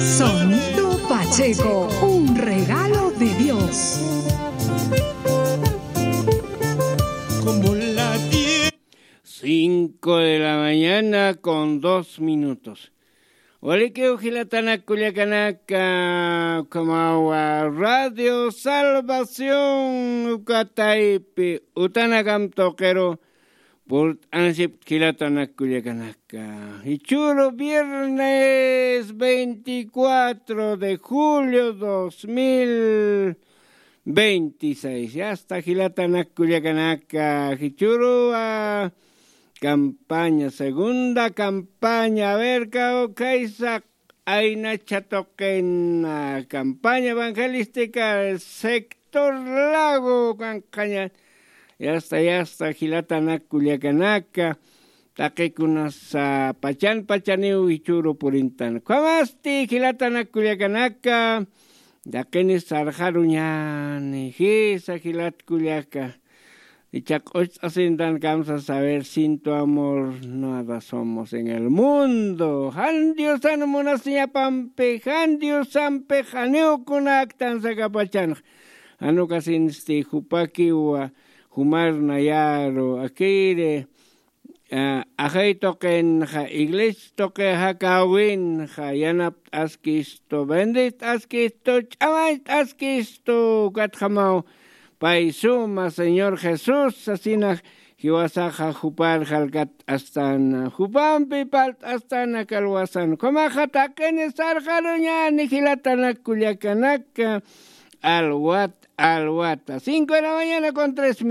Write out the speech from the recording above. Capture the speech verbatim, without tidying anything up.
Sonido Pacheco, un regalo de Dios. Como la tierra. Cinco de la mañana con dos minutos. Walikiw jilatanak kullakanaka, ukhamawa Radio Salvación uka taypi utanakam tuqiru purt'ansipkt jilatanak kullakanaka. Jichhüru viernes veinticuatro de julio dos mil veintiséis. Yasta jilatanak kullakanaka, jichhüruwa campaña, segunda campaña. A ver, kawkhaysa aynacha tuqin, ah, campaña evangelística del sector Lago, kanqaña. Yasta, yasta, jilatanak kullakanaka, taqikunasa pachan pachaniw jichhüru purintan. Ukhamasti jilatanak kullakanaka, taqini sarxaruñani, jisa jilat kullaka. Icha q'ucht'asintan kamsa saber sin tu amor nada somos en el mundo. Jan Diosan munasiñapampi, jan Diosampi janiw kunaktan sakapachanx. Jan ukasinsti jupakiwa jumar nayaru, akiri, ah, ajay tuqinxa, iglesia tuqi jakawinxa, yanapt'askistu, bendit'askistu, ch'amañt'askistu, ukatjamaw pay suma Señor Jesús sasina jiwasaxa jupar jalkat'astana, jupampi parlt'astana kalwasan. Ukhamaxa taqini sarxaruñani jilatanak kullakanaka, alwat, alwata. Cinco de la mañana con tres